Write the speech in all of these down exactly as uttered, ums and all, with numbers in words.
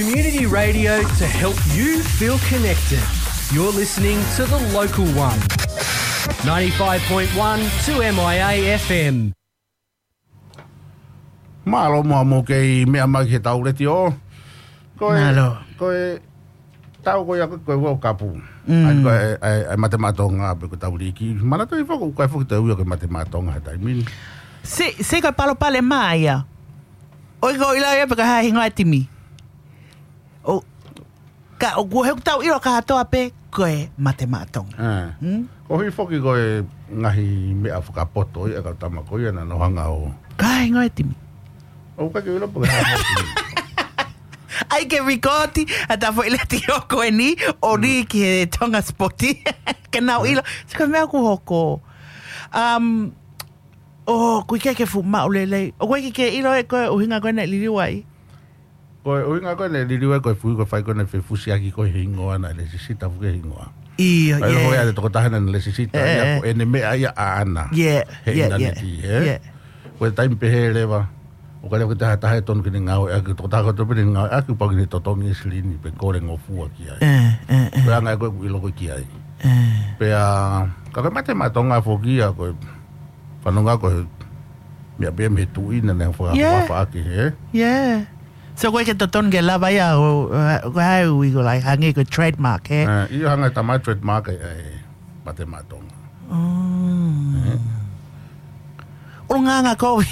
Community radio to help you feel connected. You're listening to The Local One. Ninety-five point one two M I A F M. Mālō muʻa mo kei meʻa mai ki he tau letiō. Ko e, Mālō. Ko e tau ko ia ko e World Cup. Mm. ʻAi ko e, ʻai, ʻai Mate Maʻa Tonga pe ko e tau liki. Manatuʻi foki, ʻoku ʻikai foki te u ʻilo ko e Mate Maʻa Tonga he taimi ni. Si, si ko e palopalema ia. ʻOku ʻikai ke u ʻilo ia pe ko e hā e hingoa e timi. ʻO, ka, ʻoku, he ʻoku tau ʻilo kātoa pē ko e Mate Maʻa Tonga. Ē. Hmm? Ko e hā foki ko e ngaahi meʻa fakapoto ia ʻa e kau tama ko ia naʻa nau hanga ʻo. Ko e hā e hingoa e timi. ʻOku ʻikai ke u ʻilo pe ko e hā e hingoa e timi. ʻAi ke rikōti ʻa e tau foʻi letiō ko eni, ʻo lī ki he Tonga Spoti. Ke nau ʻilo. Sio ko e meʻa ʻoku hoko. Um, ʻOku ʻikai ke fuʻu maʻu lelei. ʻOku ʻikai ke ʻilo ʻe koe e ʻuhinga ko ē naʻe liliu ai. Ko e ʻuhinga ko ē naʻe liliu ai ko e fuʻu ko e fai ko ē naʻe fefusiaki ko e hingoa naʻe lēsisita foki e hingoa. ʻIo, ʻio. ʻAi ko ia ʻa e tokotaha naʻe lēsisita ia ko ʻene meʻa ia ʻaʻana. ʻIo, ʻio, ʻio. He ʻinaneti, ē? ʻIo. Ko e taimi pehē leva. ʻOku ʻikai leva ke taha taha ʻe tonu ke ne ngāueʻaki, tokotaha kotoa pē ne ngāueʻaki, pau ke ne totongi e silini pe kole ngofua ki ai. ʻE, ʻe, ʻe. Ko e anga ia ko ē ʻoku ʻilo ko ē ki ai. ʻE. Pea, ka ko e Mate Maʻa Tonga foki ia, ko e fanongo ko e meʻa pē mei he tuʻi naʻa ne faka-, Yeah. fakafaʻaki, ē? Yeah. So ko e ke totonu ke lava ia ʻo, ʻo, ʻo, ʻo, ʻo, ʻo, ʻo, ʻo, like, hangē ko e trademark, ē? ʻE, ʻio hangē ko e tama trademark ē, ʻe, Mate Maʻa Tonga. Mm. ʻE? ʻUlungaanga kovi.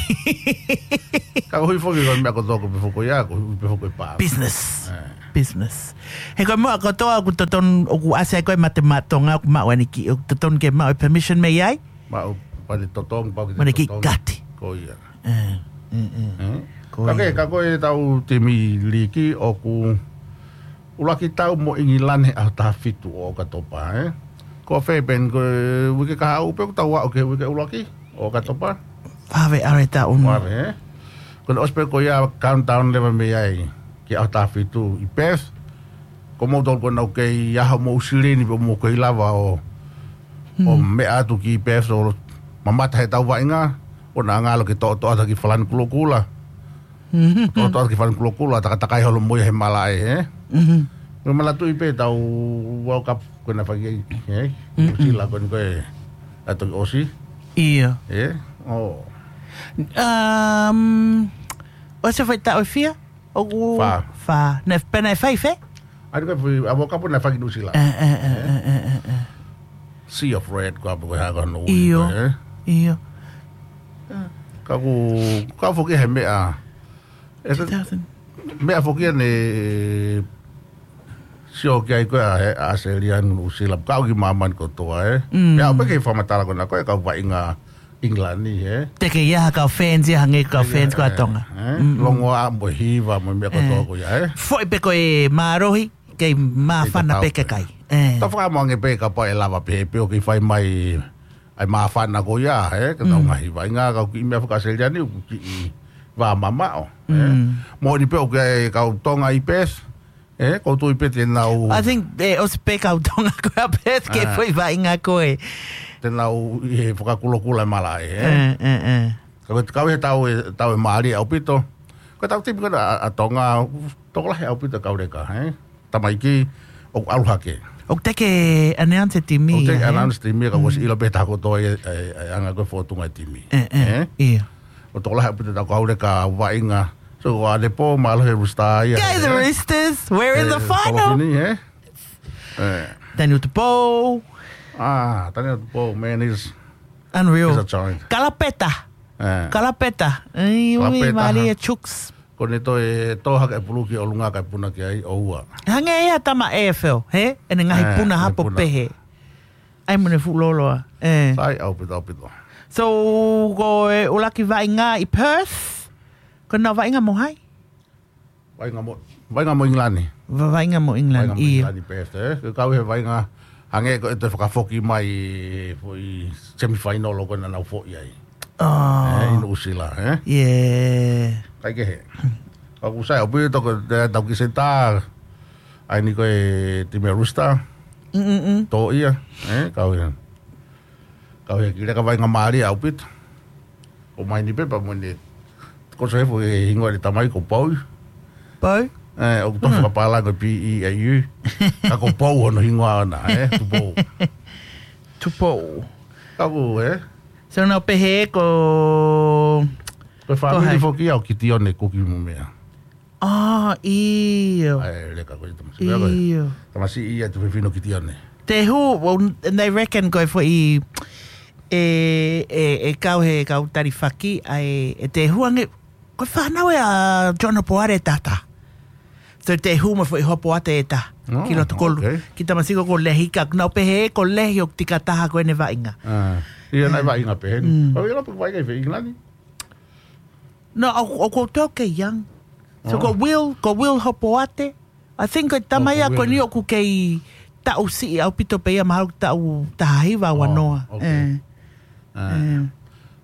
Ka ko e hā foki ko e meʻa ko e toko pe foko ia, ko e hā pe foko e pā. Business. ʻE. Business. He ko e meʻa kotoa ʻoku totonu, ʻoku ʻasi ai ko e Mate Maʻa Tonga, ʻoku maʻu ʻene kiʻi, ʻoku totonu ke maʻu e permission mei ai. Maʻu pale totongi, pau ke Mane kiʻi totongi. Kati. Ko ia. ʻE, ʻe, ʻe. ʻE? Ko ia. Ka ke, ka ko e tau timi liki ʻoku ʻuluaki tau mo ʻIngilani he ʻaho taha fitu ʻo ʻOkatopa, ē? Ko fē pē ko e uike kahaʻu pē ʻoku tau aʻu ki he uike ʻuluaki ʻo ʻOkatopa? Fave are ta un. Fave, ē? Ko ʻene ʻosi pē ko ia countdown leva mei ai ki he ʻaho taha fitu ʻi Perth. Ko moutolu ko ena ʻoku kei ʻaho mo silini pē mo kei lava ʻo, ʻo Mm. meʻa atu ki Perth ʻo mamata he tau vaʻinga, ʻo na ngalo ke toʻotoʻo atu ki Falani Kulokula. Mhm. Toʻotoʻo atu ki Falani Kulokula, takatakai holo mo ia he malaʻe, ē? Mhm. Mo manatuʻi pē tau World Cup ko ena fai ki ai, ē? Mm-mm. Nuʻusila ko ena ko e ʻaho ʻosi. ʻIo. Ē? ʻO. Um, ʻosi fai taʻu ʻe fiha? ʻOku Fā. Fā. Naʻe, pea naʻe fai fē? ʻAi ko e fai, ʻa World Cup naʻe fai ki Nuʻusila. ʻE, ʻe, ʻe, ʻe, ʻe, ʻe, ʻe. Sea of Red, ko e hā pe ko e hā ko hono ui, ʻIo. Ē? ʻIo. Ka ʻoku, ka foki he meʻa. ʻE, Two thousand. Meʻa foki ʻa ʻene sio ki ai ko ē ʻa e, ʻa ʻAositelēlia, Nuʻusila, ka ʻoku ʻi māmani kotoa, ē? Mm. Meʻa ʻoku pehē ke fakamatala ko ena ko e kau vaʻinga ʻIngilani, ē? Te ke ʻi ai ha kau fans ia hangē ko e kau Te ke, fans ko ē, ʻa Tonga. ē? Mm, mm. Longoaʻa mo e hiva mo e meʻa kotoa Ē. ko ia, ē? Foʻi pē ko e mālohi, kei māfana Kei pē tatau ke pē. kai. Ē. Tau fakamoʻoni pē kapau ʻe lava pē, pē ʻo kei fai mai ʻa e māfana ko ia, ē? Ka tau Mm. ngaahi vaʻinga, kau kiʻi meʻa faka-ʻAositelēlia ni, ʻoku kiʻi vā mamaʻo, ē? Mm. Moʻoni pē ʻoku ʻi ai e kau Tonga ʻi Perth, ē, ʻoku ou tui pē te nau I think, ē, ʻosi pē kau Tonga ko ē ʻa Perth ke Ā. foʻi vaʻinga ko ē. Te nau ʻi he fakakulokula e malaʻe, ē? Ē, ē, ē. Ka ko e kau he tau ē, tau ē mālie ʻaupito. Ko e tau timi ko ena ʻa, ʻa Tonga, tokolahi ʻaupito kau leka, ē? Tamaiki, ʻoku ʻalu hake. ʻOku teʻeki announce e timi ʻOku ia, teʻeki ē? announce e timi, ka Mm. ʻosi ʻilo pē taha kotoa ē, ē, ē, anga ko e fōtunga e timi. Ē, ē, Ē? ʻio. ʻOku tokolahi ʻaupito ʻetau kau leka vaʻinga. So, ʻa Nepo, mālō he Rooster ia, Go the ē? Roosters, we're in the Ē, final. Tolofini, ē? Ē. Daniel Tupou. Ah, Daniel Tupou, man, he's, Unreal. he's a giant. Kalapeta. Ē. Kalapeta. Ai, ui, Kalapeta, mālie ha. e Chooks. Ko ʻene toe, tō hake e pulu ki ʻolunga kae puna ki ai ʻoua. Hangē ia tama ʻe feo, he? ʻEne ngaahi Ē, puna ʻene hapo puna. pehē. ʻAi mo ʻene fuʻu lōloa. Ē. Sai, ʻaupito, ʻaupito. So, ko e ʻuluaki vaʻinga ʻi Perth. Ko ena vaʻinga mo hai? Vaʻinga mo, vaʻinga mo ʻIngilani. Va-, vaʻinga mo ʻIngilani, Vaʻinga mo ʻio. ʻIngilani Perth, ē. Ke kau he vaʻinga hangē ko e toe fakafoki mai foʻi semifinal ʻoku nau foʻi ai. Oh. Ē, ʻi Nuʻusila, ē. Yeah. Kae kehe. ʻOku sai ʻaupito ko e tau ki se tā. ʻAi ni ko e timi Rooster. Mm, mm, mm. Tō ia, ē, kau ia. Kau ia ki leka vaʻinga mālie ʻaupito. ʻOmai ni pē pea mo ʻene. Ko se fo e hingoa ʻene tamai ko Pau. Pau? ʻE, ʻoku tofu kapala ko P E A U. Ka ko Pou hono hingoa ʻona, ē, Tupou. Tupou. Ka ko, ē? So nau pehē ko Ko e fāmili hai? Foki ia ʻo Kitione Kuki mo meʻa. ʻA, ʻio. ʻAe, leka ko e tamasiʻi. ʻIo. Tamasiʻi ia tuʻu fefine ʻo Kitione. Te hū, well, and they reckon ko e foʻi, ʻe, ʻe, ʻe kau he kau talifaki, ʻae, ʻe te hū ange, ko e fānau ē ʻa John Hopoate tata. So te hū mo e foʻi Hopoate ʻe taha. Oh, ki loto kolu. Okay. Ki tamasiʻi ko Lehi ka, nau pehē ko Lehi ʻoku tika taha ko ʻene vaʻinga. ʻA, ia naʻe vaʻinga pehē ni. Mm. ʻO ia lapa vaʻinga ʻi fē, England? No, ʻo, ʻoku ou tui ʻoku kei young. So ko Will, ko Will Hopoate. I think ko e tama ia ko eni ʻoku kei taʻu siʻi ʻaupito pē ia mahalo taʻu taha hiva ua noa. Oh, okay. ʻE. ʻE.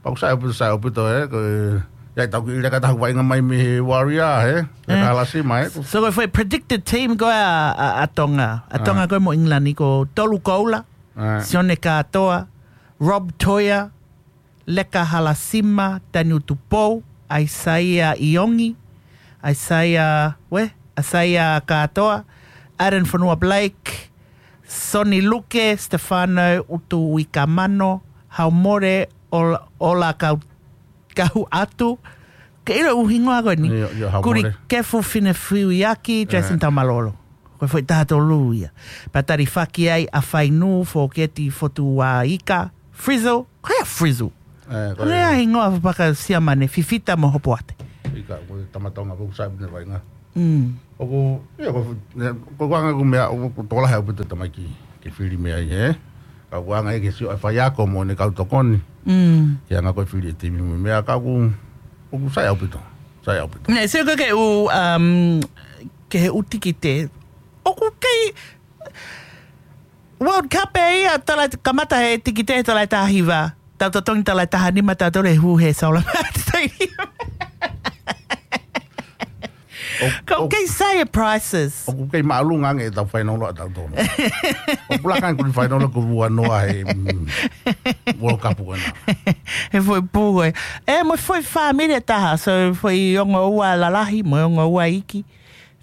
Pau sai ʻaupito, sai ʻaupito, ē, ko e, ia tau ki leka taha vaʻinga mai mei he Warrior, ē? Leka Halasima, ē? So ko e foʻi predicted team ko ē ʻa, ʻa, ʻa Tonga. ʻA Tonga ko ē mo England ko Tolu Koula, Sione Kātoa, Rob Toia, Leka Halasima, Taniu Tupou, ʻAisaia ʻIongi, ʻAisaia, we, ʻAisaia Kātoa, Aaron Fonua Blake, Soni Luke, Stefano Utu Uikamano, Haumore, Ola, Ola Kau, Kau Atu, ke ʻilo ʻū hingoa ko eni. Kuri Kefu Finefiuiaki, Jason Taumalolo. Ko e foʻi taha tolu ia. Pea talifaki ai ʻa Fainu, Foketi Fotuaika, Frizzle, ko e Frizzle. ʻE, ko e hingoa fakasiamane, Fifita mo Hopoate. ʻIka, ko e tama Tonga, ko e sai ʻaupito ʻene vaʻinga. Mm. ʻOku, ia, ko, ne, ko e anga ʻeku meʻa, ʻoku, ʻoku tokolahi ʻaupito tamaiki, ke fili mei ai, ē? Ka ʻoku anga ʻe ke sio ʻa e faiako mo ʻene kau tokoni. Mm. Ke anga ko e fili e timi mo e meʻa ka ʻoku, ʻoku sai ʻaupito, sai ʻaupito. Ne, sio ko ke u, um, ke he ʻū tikite. ʻOku kei, World Cup ē ia, tala kamata he tikite, tala taha hiva. Tau totongi tala taha nima, tau tole hu he saula mati tai. Ka ʻoku kei sai e prices. ʻOku kei māʻolunga ange ʻetau fainolo ʻa tautolu. ʻOku laka ange ko e fainolo ko ua noa he, mm, World Cup ko ena. He foʻi pū ko ē. ʻE, mo e foʻi fāmili ʻe taha, so foʻi ongo ua lalahi, mo e ongo ua iiki.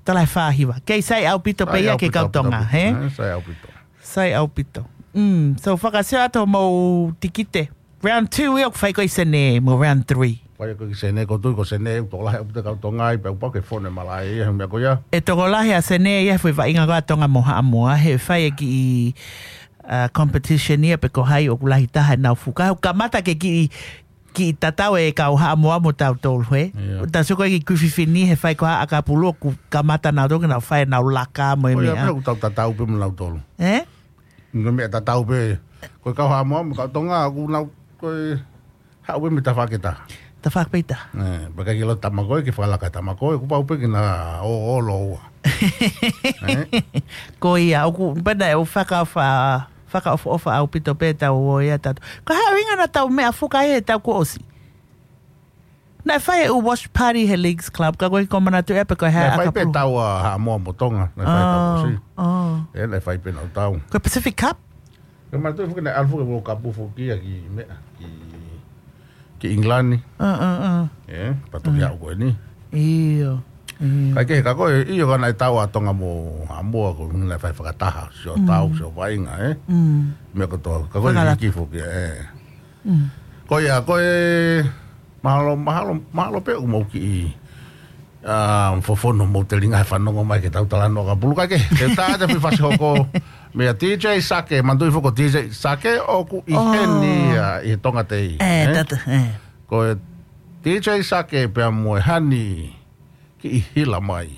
Tala he fā hiva. Kei sai ʻaupito pē ia ke kau Tonga, he? ʻE, sai ʻaupito. Sai ʻaupito. Mm, so fakasio atu mo tikite. Round two ia ʻoku fai ko ē ʻi Senē mo round three. Fai ko ē ʻi Senē, ko tui ko Senē, ʻoku tokolahi ʻaupito kau Tonga ai, pea ʻoku pau ke fone malaʻe ia, he meʻa ko ia. ʻE tokolahi ʻa Senē ia, he foʻi vaʻinga ko ē ʻa Tonga mo Haʻamoa, he fai e kiʻi, uh, competition ia pe ko hai ʻoku lahi taha ʻenau fuka. ʻOku kamata ke kiʻi, kiʻi tatau e kau Haʻamoa mo tautolu, he? Ia. Tau sio ko ē ki Kuififini, he fai ko ē ʻa ʻAkapulu ʻoku kamata nautolu ke nau fai ʻenau laka mo e meʻa. Ko ia pē ʻoku tau tatau pē mo nautolu. Ē? Ko e meʻa tatau pē. Ko e kau Haʻamoa mo e kau Tonga, ʻoku nau, ko e haʻu pē mei tafaʻaki ʻe taha. Tafaʻaki pē ʻe taha. ʻE, pea ʻikai ke ʻilo tama ko ē, ke fakalaka tama ko ē, ʻoku pau pē ke na ō, ō lōua. Ē? Ko ia, ʻoku, pena ʻe u fakaʻofa, fakaʻofoʻofa ʻaupito pē tau ō ia tatu. Ko e hā e ʻuhinga naʻa tau meʻa fuka ai he taʻu kuo ʻosi? Naʻe fai e ʻū watch party he Leagues Club, ka ko e kiʻi manatu ʻe pe ko e hā. Naʻe fai pē ʻAkapulu. Tau ʻa Haʻamoa mo Tonga, naʻe fai tau ʻosi. Oh, oh. ʻE, naʻe fai pē naʻa tau. Ko e Pacific Cup? Ko e manatu foki naʻe ʻalu foki e World Cup foki ia ki meʻa, ki, ki England. Uh, uh, uh. ʻE, pea toki haʻu ko eni. ʻIo, ʻio. Kae kehe ka ko e, ʻio ka naʻe tau ʻa Tonga mo Haʻamoa ko e naʻe fai fakataha, sio tau, sio vaʻinga, ē? Mm. Meʻa kotoa, ka ko e fakalaka. Hiki foki, ē. Mm. Ko ia, ko e, mahalo, mahalo, mahalo pē ʻoku mou kiʻi, ʻa, fofono mo telinga he fanongo mai ke tau talanoa ʻAkapulu kae kehe. Te u tā atu e foʻi fasi hoko meia T J Sake, manatuʻi foki ko T J Sake ʻoku ʻi heni ia ʻi he Tonga Tei. ʻE, ē? Tata, ē. Ko e T J Sake pea mo e Hani kiʻi hila mai.